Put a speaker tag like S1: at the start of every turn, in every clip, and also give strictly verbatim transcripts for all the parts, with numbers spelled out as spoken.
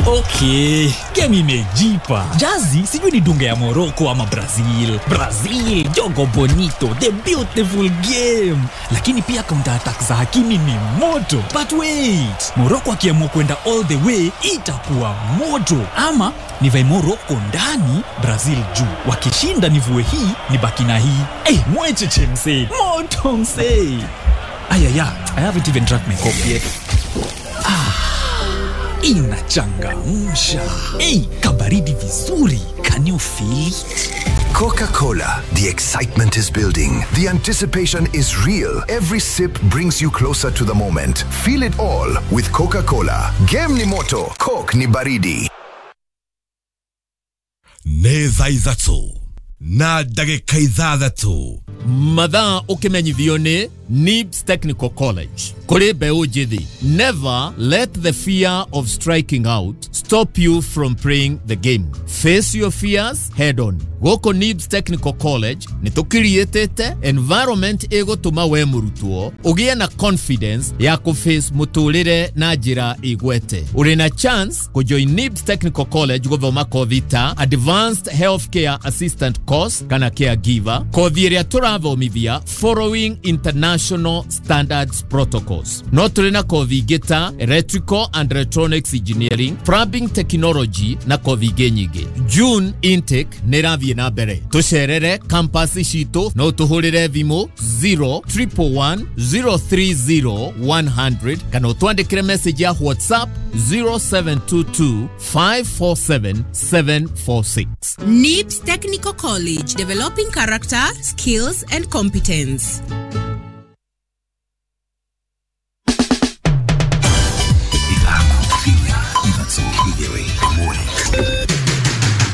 S1: Okay, game imejipa. Jazi sijui ni dunga ya Morocco ama Brazil. Brazil, jogo bonito, the beautiful game. Lakini pia counter attack za Hakimi ni moto. But wait, Morocco akiamua kwenda all the way itakuwa moto. Ama nivae Morocco ndani, Brazil juu. Wakishinda nivue hii, nibaki na hii. Eh, hey, mwecheche msee. Moto msee. Ayaya, I haven't even drank my coffee yet. Ah. Inachangamsha. Hey, kabaridi vizuri. Can you feel it?
S2: Coca-Cola. The excitement is building. The anticipation is real. Every sip brings you closer to the moment. Feel it all with Coca-Cola. Game ni moto, Coke ni baridi.
S3: Nĩ thaa ithatũ na ndagĩka ithathatũ.
S4: Mathaa ũkĩmenyithio nĩ Nibs Technical College. Kũrĩ mbeũ njĩthĩ, never let the fear of striking out stop you from playing the game. Face your fears head on. Gũkũ Nibs Technical College nĩ tũkiriĩtĩte environment ĩgũtũma we mũrutwo ũgĩe na confidence ya kũface mũtũrĩre na njĩra igwete. Ũrĩ na chance kũjoin Nibs Technical College gũthoma kothi ta Advanced Healthcare Assistant Course kana Caregiver, kothi ĩrĩa tũrathomithia following international standards protocols. No tũrĩ na kothi ingĩ ta Electrical and Electronics Engineering, Plumbing Technology na kothi ingĩ nyingĩ. June intake nĩ ĩrathiĩ na mbere. Tũcerere campus citũ no tũhũrĩre thimũ zero triple one zero three zero one hundred kana ũtwandĩkĩre message ya WhatsApp zero seven two two five four seven seven four six.
S5: Nibs Technical College, developing character, skills and competence.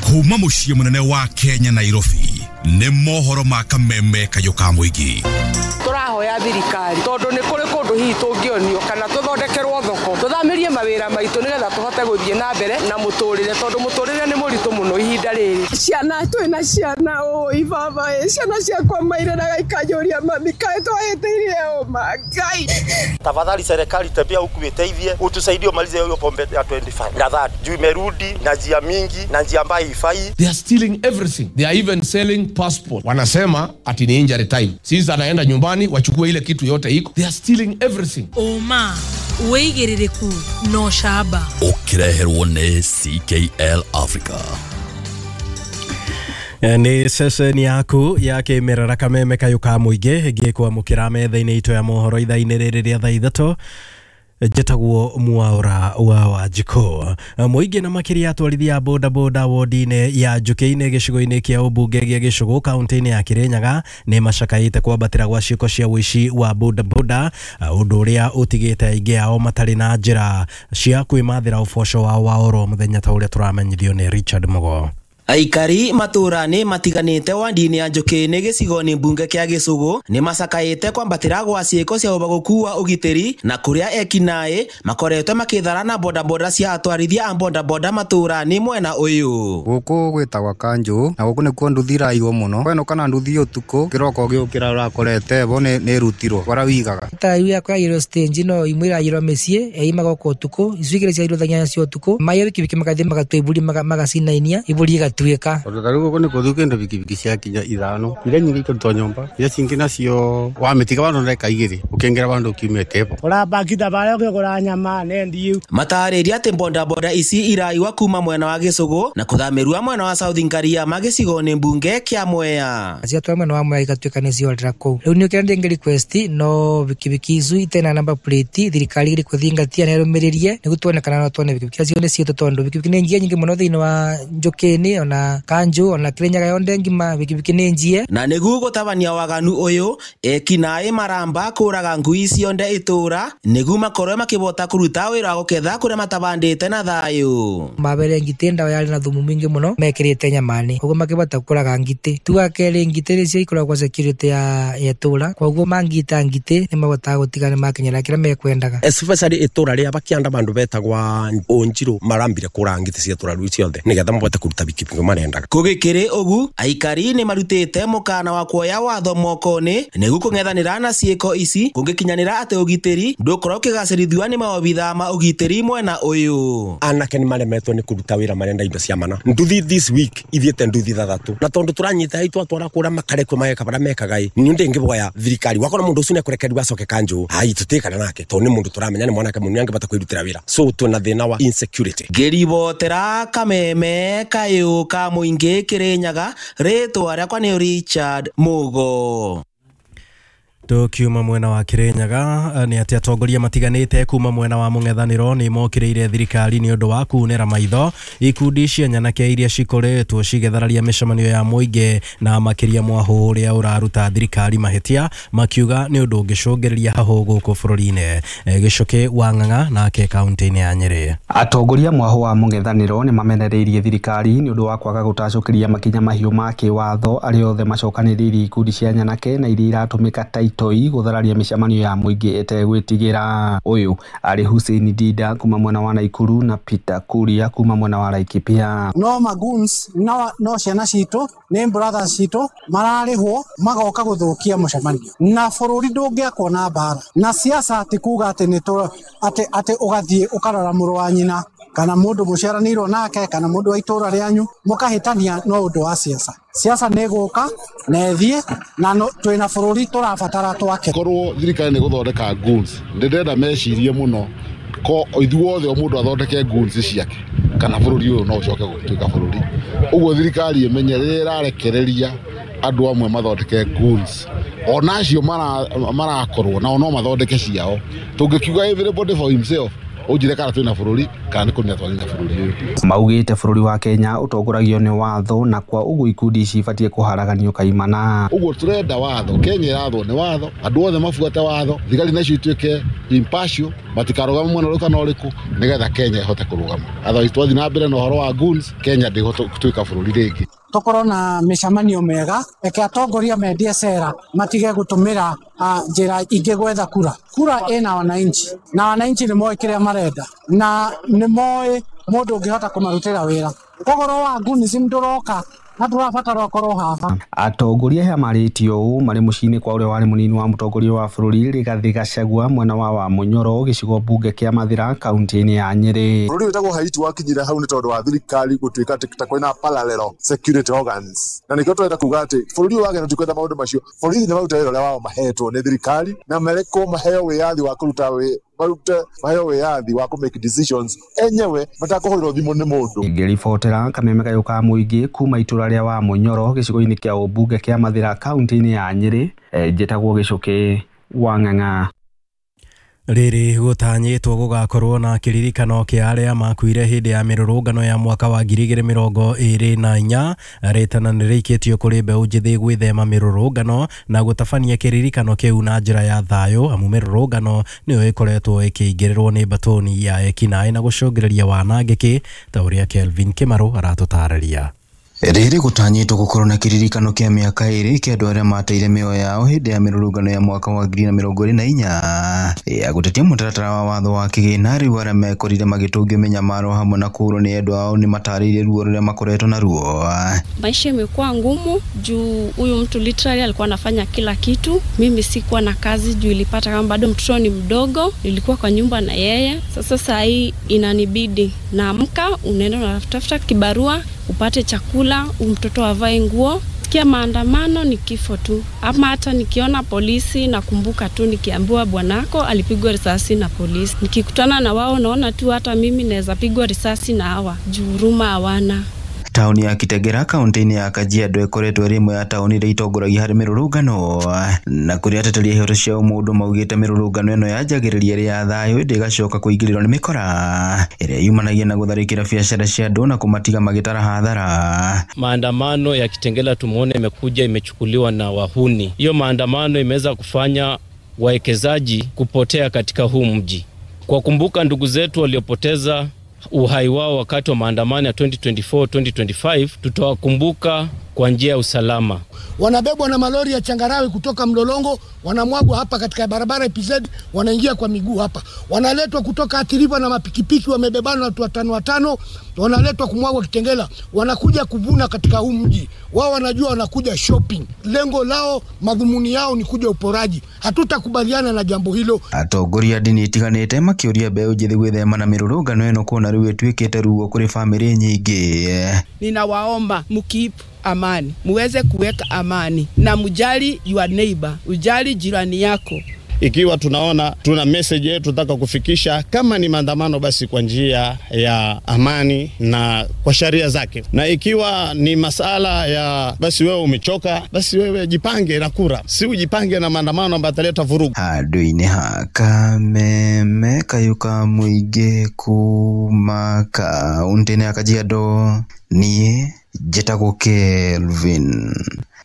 S3: Kuma muciĩ mũnene wa Kenya Nairobi nĩ mohoro ma kameme kayũ ka mũingĩ.
S6: Tũrahoya thirikari tondũ nĩ kũrĩ kũndũ hihi tũngĩonio kana tũthondekerwo thoko tũthamirie mawĩra maitũ nĩgetha tũhote gũthiĩ na mbere na mũtũrĩre tondũ mũtũrĩre nĩ mũritũ mũno ihinda rĩrĩ.
S7: Ciana twĩna ciana ũĩ baba ĩ ciana ciakwa mairĩraga ikanjũria mami kaĩ twahĩtĩirie ũma Ngai.
S8: Tafadhali serikali tembea huku iteithie utusaidie umalize hiyo pombe ya twenty-five na thirty juu imerudi na njia mingi na njia ambayo haifai.
S9: They are stealing everything. They are even selling passport. Wanasema ati ni injury time. Sisi anaenda nyumbani wachukue ile kitu yote iko. They are stealing everything.
S10: Oma wĩigĩrĩrĩku no shaba.
S11: Ũkĩreherwo nĩ C K L Africa.
S12: Nĩ ceceni yaku ya kĩmerera kameme kayũ ka mũingĩ ngĩkwamũkĩra metha-inĩ itũ ya mohoro ithaa-inĩ rĩrĩ rĩa thaa ithatũ. Njĩtagwo Mwaura wa Wanjikũ. Mũingĩ na makĩria atwarithia a boda boda wodi-inĩ ya Njũkĩ-inĩ gĩcigo-inĩ kĩa ũmbunge gĩa Gĩcũgũ kaunti-inĩ ya Kĩrĩnyaga nĩ macakaĩte kwambatĩra gwa ciĩko cia ũici wa boda boda, ũndũ ũrĩa ũtigĩte aingĩ ao matarĩ na njĩra cia kwĩmathĩra ũboco wao wa oro mũthenya ta ũrĩa tũramenyithio nĩ Richard Mugo.
S13: Aikari matũra-inĩ matiganĩte wandi-inĩ ya Njũkĩ-inĩ gĩcigo-inĩ mbunge kĩa Gĩcũgũ nĩ macakaĩte kwambatĩra gwa ciĩko cia ũbagũku wa ũgitĩri na kũrĩa ekinaĩ makoretwo makĩthara na bodaboda cia atwarithia a bodaboda matũra-inĩ mwena ũyũ.
S14: Gũkũ gwĩtagwa Kanjũ na gũkũ nĩkuo nduthi iraiywo mũno kwenũka na nduthi ũtukũ kĩroko gĩũkĩra ũrakorete bo nĩ ĩrutirwo bara wigaga
S15: ta iu yakwa yaiyirwo stage no imwe iraiyirwo mĩciĩ eimaga gũkũ ũtukũ icio igĩrĩ ciaiyirwo thaa inyanya cia ũtukũ maiya bikibiki magathiĩ magatua iburi magacinainia iburi igatuĩka.
S16: Tondũ ta rĩu gũkũ nĩ kũthiũ kĩndũ bikibiki ciakinya ithano iria nyingĩ ikarutwo nyũmba iria cingĩ nacio wamĩtiga vandũ ndagĩka igĩrĩ ũkĩingĩra vandũ ũkiumĩte bo
S17: ũrabakitha barĩa ũkĩgũra nyama nendi.
S13: Matarĩria atĩ bodaboda ici iraiwa kuma mwena wa Gĩcũgũ na kũthamĩrua mwena wa South Ngariama gĩcigo-inĩ mbunge kĩa Mwea.
S15: Ciatwara mwena wa Mwea igatuĩka nĩ ciorĩra kũu. Rĩu nĩ ũkĩra ndĩngĩ request no bikibiki icu itena number plate thirikari ĩrĩ kũthingatia na ĩrũmĩrĩrie nĩguo tuone kana no tuone bikibiki acio nĩ ciitũ tondũ bikibiki nĩ njie nyingĩ mũno thĩinĩ wa Njũkĩ-inĩ ona Kanjũ ona Kĩrĩnyaga yonde ngima bikibiki nĩ njie.
S13: Na nĩguo gũtabania waganu ũyũ ekinaĩ maramba kũraga ngui cionde itũra nĩguo makorwo makĩbota kũruta wĩra wa gũketha kũrĩa matabandĩte na thayũ.
S15: Mabere ngitĩ ndawa yarĩ na thumu mwingĩ mũno mekĩrĩte nyamani koguo makĩbota kũraga ngitĩ. Tuga kerĩ ngitĩ nĩcio ikoragwo security ya itũra koguo mangita ngitĩ nĩ mabotaga gũtiga nĩ makinyĩra kĩrĩa mekwendaga.
S18: Especially itũra rĩa bakianda bandu betagwa Onjiro marambire kũraga ngitĩ cia itũra rĩu ciothe nĩgetha mabote kũruta bikibiki nio marendaga.
S13: Kũgĩkĩrĩ ũgu aikari nĩ marutĩte mũkana wa kuoya watho moko-inĩ nĩguo kũng'ethanĩra na ciĩko ici kũngĩkinyanĩra atĩ ũgitĩri ndũkorwo ũkĩgacĩrithio nĩ maobithaa ma ũgitĩri mwena ũyũ.
S18: Anake nĩ maremetwo nĩ kũruta wĩra marenda indo cia mana. Nduthi this week ithiĩte nduthi ithathatũ na tondũ tũranyita hau twatwara kũrĩa makarekwo mageka barĩa mekaga ĩ niĩ ndĩngĩboya thirikari wakona mũndũ ũcio nĩekũrekererio acoke kanjũ ai tũtikana nake tondũ nĩ mũndũ tũramenya nĩ mwanake mũnini angĩbata kwĩrutĩra wĩra, so twĩna thĩna wa insecurity.
S13: Ngĩribotera Kameme kayũ ka mũingĩ Kĩrĩnyaga, rĩtwa rĩakwa nĩ Richard Mugo.
S12: Tukiuma mwena wa Kirinyaga nĩ atĩ atongoria matiganĩte kuma mwena wa mũng'ethanĩro nĩ mokĩrĩire thirikari nĩ ũndũ wa kunĩra maitho ikundi cia nyanake iria cikoretwo cigĩthararia mĩcemanio ya mũingĩ na makĩria mwahũ ũrĩa ũraruta thirikari mahĩtia makiuga nĩ ũndũ ũngĩcũngĩrĩria hahũ gũkũ bũrũri-inĩ. Gĩcũkĩ wa Ng'ang'a nake kaunti-inĩ ya Nyĩrĩ.
S19: Atongoria mwahũ wa mũng'ethanĩro nĩ mamenereirie thirikari nĩ ũndũ wa kwaga gũtacũkĩria makinya mahiũ ma kĩwatho arĩa othe macokanĩrĩirie ikundi cia nyanake na iria iratũmĩka ta itoi gũthararia mĩcemanio ya mũingĩ ĩtegwĩtigĩra. Ũyũ arĩ Hussein Dida kuma mwena wa Naikuru na Peter Kuria kuma mwena wa Laikipia.
S20: No magoons no, no ciana citũ nĩ brothers citũ mararĩhwo magoka gũthũkia mũcemanio na bũrũri ndũngĩakwo na mbara na siasa ti kuga atĩ nĩ atĩ atĩ ũgathiĩ ũkarora mũrũ wa nyina kana mũndũ mũciaranĩirwo nake kana mũndũ wa itũra rĩanyu mũkahĩtania no ũndũ wa siasa. Siasa nĩ gũka na ĩthiĩ na twĩna bũrũri tũrabatara twake.
S21: Korwo thirikari nĩ gũthondeka goons ndĩrenda mecirie mũno ko ithuothe o mũndũ athondeke goons ciake kana bũrũri ũyũ no ũcoke gũtuĩka bũrũri. Ũguo thirikari ĩmenye rĩrĩa ĩrarekereria andũ amwe mathondeke goons ona acio marakorwo nao no mathondeke ciao. Tũngĩkiuga everybody for himself ũnjire kana twĩna bũrũri kana nĩ kũnina twanina bũrũri ũyũ.
S19: Maugĩte bũrũri wa Kenya ũtongoragio nĩ watho na kwa ũguo ikundi ici ibatiĩ kũharaganio kaimana.
S21: Ũguo tũrenda watho, Kenya ĩrathwo nĩ watho, andũ othe mabuate watho, thigari nacio ituĩke impartial, matikarũgame mwena ũrĩkũ kana ũrĩkũ nĩgetha Kenya ĩhote kũrũgama. Otherwise twathiĩ na mbere na ũhoro wa goons, Kenya ndĩgũtuĩka bũrũri rĩngĩ.
S20: Tũkorwo na mĩcemanio mĩega, reke atongoria mendie cera matige gũtũmĩra njĩra ingĩ gwetha kura. Kura ĩna wananchi na wananchi nĩ moĩ kĩrĩa marenda na nĩ moĩ mũndũ ũngĩhota kũmarutĩra wĩra. Ũhoro wa goonism ndũroka na tũrabatara ũkorwo haha.
S19: Atongoria aya marĩtio ũũ marĩ mũciĩ-inĩ kwa ũrĩa warĩ mũnini wa mũtongoria wa bũrũri Rigathĩ Gachagua mwena wa Wamunyoro gĩcigo mbunge kĩa Mathĩra kaunti-inĩ ya Nyĩrĩ.
S22: Bũrũri wĩtagwo Haiti wakinyire hau nĩ tondũ wa thirikari gũtuĩka atĩ ta kwĩna parallel security organs, na nĩkĩo tũrenda kuga atĩ bũrũri ũyũ wa Kenya tũtikwenda maũndũ macio. Borithi nĩ marute wĩra ũrĩa wao mahetwo nĩ thirikari na marekwo maheo wĩyathi wa kũruta wĩ marute maheo wĩyathi wa kũ make decisions enyewe matakũhũrĩrwo thimũ nĩ mũndũ.
S19: Ngĩribotera Kameme kayũ ka mũingĩ kuma itũra rĩa Wamunyoro gĩcigo-inĩ kĩa ũmbunge kĩa Mathĩra kaunti-inĩ ya Nyĩrĩ, njĩtagwo Gĩcũkĩ wa Ng'ang'a.
S12: Rĩrĩ gũtanyĩtwo gũgakorwo na kĩririkano kĩa arĩa makuire hĩndĩ ya mĩrũrũngano ya mwaka wa ngiri igĩrĩ mĩrongo ĩrĩ na inya. Rĩtana nĩ rĩikĩtio kũrĩ mbeũ njĩthĩ gwĩthema mĩrũrũngano na gũtabania kĩririkano kĩu na njĩra ya thayũ, amu mĩrũrũngano nĩyo ĩkoretwo ĩkĩingĩrĩrwo nĩ mbatoni ya ekinaĩ na gũcũngĩrĩria wanangĩki ta ũrĩa Kelvin Kĩmarũ aratũtarĩria.
S23: Rĩrĩ gũtanyĩtwo gũkorwo na kĩririkano kĩa mĩaka ĩrĩ kĩa andũ arĩa mateire mĩoyo yao hĩndĩ ya mĩrũrũngano ya mwaka wa ngiri na mĩrongo ĩrĩ na inya ya gũtetia mũtaratara wa watho wa kĩgĩna. Rĩu arĩa mekorire magĩtũngio mĩnyamaro hamwe na kũũrwo nĩ endwa ao nĩ matarĩirie ruo rũrĩa makoretwo naruo.
S24: Maisha imekuwa ngumu juu huyu mtu literally alikuwa anafanya kila kitu. Mimi sikuwa na kazi juu ilipata kama bado mtoto ni mdogo, nilikuwa kwa nyumba na yeye. Sasa saa hii inanibidi naamka, unaenda unatafuta kibarua upate chakula, mtoto avae nguo. Sikia maandamano ni kifo tu. Ama hata nikiona polisi nakumbuka tu nikiambiwa bwanako alipigwa risasi na polisi. Nikikutana na wao naona tu hata mimi naweza pigwa risasi na hawa. Juu huruma hawana.
S23: Tauni ya Kitegera kaunti-inĩ ya Kajiado ĩkoretwo ĩrĩ ĩmwe ya tauni iria itongoragia harĩ mĩrũrũngano na kũrĩa ateteri a ihoto cia ũmũndũ maugĩte mĩrũrũngano ĩno yanjagĩrĩria ĩrĩ ya thayũ ĩndĩ ĩgacoka kũingĩrĩrwo nĩ mĩkora ĩrĩa yumanagia na gũtharĩkĩra biacara cia andũ na kũmatiga magĩtara hathara.
S25: Maandamano ya Kitengela tumeona imekuja imechukuliwa na wahuni. Hiyo maandamano imeweza kufanya wawekezaji kupotea katika huu mji. Kwa kumbuka ndugu zetu waliopoteza uhai wao wakati wa maandamano ya twenty twenty-four twenty twenty-five, tutawakumbuka kwa njia ya usalama.
S1: Wanabebwa na malori ya changarawe kutoka Mlolongo, wanamwagwa hapa katika barabara E P Z, wanaingia kwa miguu hapa. Wanaletwa kutoka Athi River na mapikipiki, wamebebana watu watano watano, wanaletwa kumwagwa Kitengela, wanakuja kuvuna katika huu mji. Wao wanajua wanakuja shopping. Lengo lao, madhumuni yao ni kuja uporaji. Hatutakubaliana na jambo hilo.
S23: Atongoria ndini itiganite makiuria mbeũ njĩthĩ gwĩthema na mĩrũrũngano ĩno kuona rĩu ĩtuĩkĩte ruo kũrĩ bamĩrĩ nyingĩ.
S2: Ninawaomba mkeep amani, muweze kuweka amani na mjali your neighbor, ujali jirani yako.
S3: Ikiwa tunaona tuna message yetu tunataka kufikisha, kama ni maandamano basi kwa njia ya amani na kwa sheria zake, na ikiwa ni masala ya basi wewe umechoka, basi wewe jipange na kura, si ujipange na maandamano ambayo yataleta vurugu.
S23: Handũ-inĩ ha Kameme kayũ ka mũingĩ kuma kaũntĩ-inĩ ya Kajiado, niĩ njĩtagwo Kelvin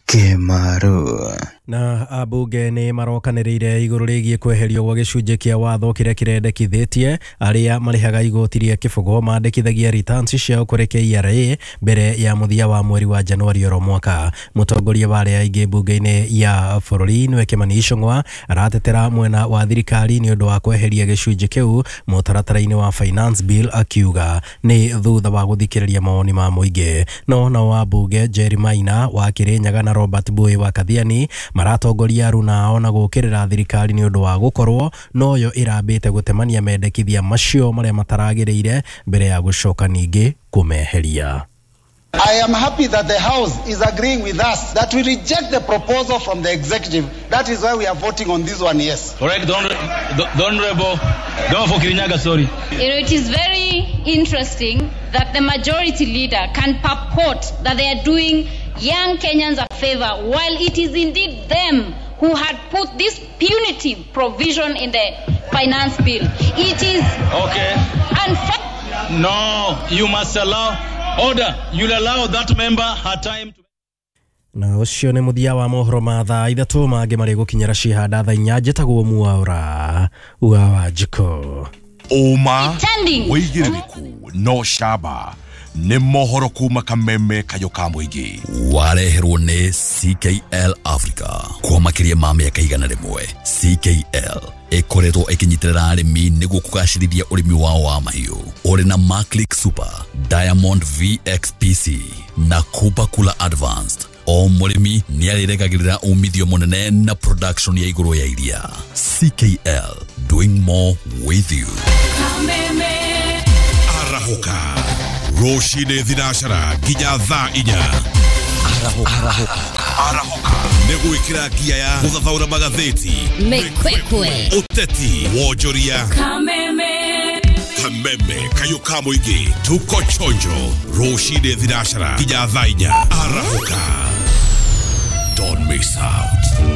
S23: Kemaru.
S12: Na ambunge nĩ marokanĩrĩire igũrũ rĩgiĩ kweherio gwa gĩcunjĩ kĩa watho kĩrĩa kĩrendekithĩtie arĩa marĩhaga igoti rĩa kĩbũgo mandĩkithagia returns ciao kũrĩ K R A mbere ya mũthia wa mweri wa Januari oro mwaka. Mũtongoria wa arĩa aingĩ mbunge-inĩ ya bũrũri nĩwe Kimani Ichung'wa aratetera mwena wa thirikari nĩ ũndũ wa kweheria gĩcunjĩ kĩu mũtaratara-inĩ wa finance bill, akiuga nĩ thutha wa gũthikĩrĩria mawoni ma mũingĩ. No nao ambunge Jerry Maina wa Kirinyaga na Robert Bui wa Kathiani maratongoria aruna na gũkĩrĩra thirikari nĩ ũndũ wa gũkorwo noyo ĩrambĩte gũtemania mendekithia macio marĩa mataragĩrĩire mbere ya gũcoka ningĩ kũmeheria.
S4: I am happy that the House is agreeing with us that we reject the proposal from the executive. That is why we are voting on this one, yes.
S5: All right, the Honorable, the Honorable Kirinyaga, sorry.
S26: You know, it is very interesting that the majority leader can purport that they are doing young Kenyans a favor, while it is indeed them who had put this punitive provision in the finance bill. It is
S5: okay.
S26: Unfair.
S5: No, you must allow order. You'll allow that member her time to.
S12: Na ũcio nĩ mũthia wa mohoro ma thaa ithatũ, mangĩ marĩ gũkinyĩra cihanda thaa inya. Njĩtagwo Mwaura wa Wanjikũ.
S27: Ũma wĩigĩrĩrĩku no camba nĩ mohoro kuma Kameme kayũ ka mũingĩ.
S11: Wareherwo nĩ C K L Africa kwa makĩria ma mĩaka igana rĩmwe. C K L ĩkoretwo ĩkĩnyitĩrĩra arĩmi nĩguo kũgacĩrithia ũrĩmi wao wa mahiũ. Ũrĩ na Maclick Super, Diamond V X P C na Kupa Kula Advanced. O mũrĩmi nĩarĩrekagĩrĩra umithio mũnene na production ya igũrũ ya iria. C K L, doing more with you.
S10: Kameme
S27: Arahoka rũcinĩ thinacara nginya thaa inya. Arahoka Arahoka nĩ gwĩkĩra ngia ya gũthathaũra magathĩti,
S10: mĩkwekwe,
S27: ũteti, wonjoria.
S10: Kameme
S27: Kameme kayũ ka mũingĩ, tuko chonjo rũcinĩ thinacara nginya thaa inya. Arahoka, don't miss out.